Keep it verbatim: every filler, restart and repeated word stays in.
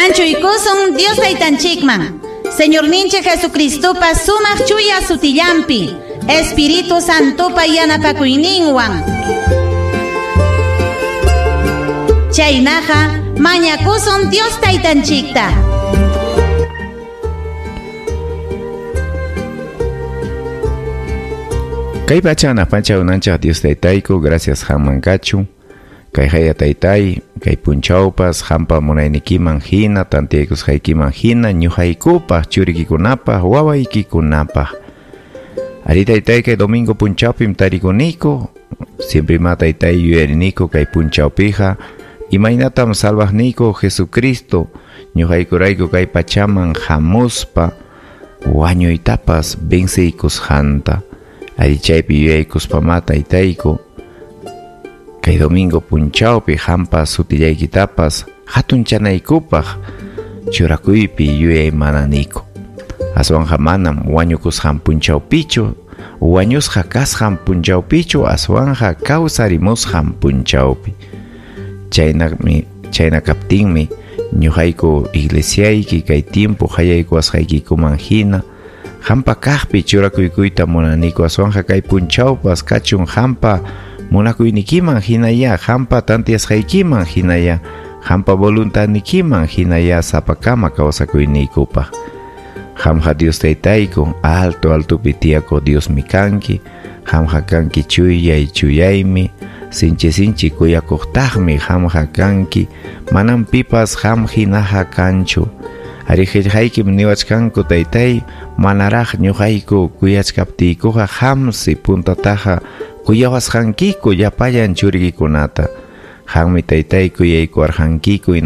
Anchuykusun Dios taytanchikman. Señorninchik Jesucristopa sumaq chuya sutillampi, Espíritu Santopa yanapakuyninwan. Chaynaqa mañakusun Dios taytanchikta. Kay pacha pacha unancha Dios taytayku, gracias haman kachu. Kay haya taytay, kay punchawpas, hampa munaynikiman hina, tantiyaykusqaykiman hina, ñuqaykupaq, churikikunapaq, wawaykikunapaq. Ari taytay kay domingo punchawpim tarikuniku, siempre ima taytay yuyariniku kay punchawpiqa, imaynatam salvaqniyku Jesucristo, ñuqaykurayku kay pachaman hamuspa, wañuytapas venceykusqanta. Ari chaypi yuyaykuspama taytayku, kay domingo punchawpi hampa sutillaykitapas hatunchanaykupaq churakuypi yuyaymananiku. Aswanqa manam wañukusqan punchawpichu, wañusqa kasqan punchawpichu, aswanqa kawsarimusqan punchawpi. Chaynami, chayna kaptinmi ñuqayku iglesiayki kay tiempo hayaykuwasqaykikuman hina hampa kaqpi churakuykuyta munaniku, aswanqa kay punchawpas kachun hampa munakuynikiman hinaya, hampa tantiyasqaykiman hinaya, hampa voluntadnikiman hinaya sapakama kawsakuyniykupaq. Hamqa Dios taytayku, alto altopi tiyakuq Diosmi kanki, hamqa kanki chuyay chuyaymi, sinchi sinchi kuyakuqtaqmi hamqa kanki, manam pipas ham hinaqa kanchu. Ari qillqaykim niwachkanku taytay, manaraq ñuqayku kuyachkaptiykuqa hamsi puntataqa kuyawasqankiku llapallan churikikunata. Qammi taytay kuyaykuwarqankiku.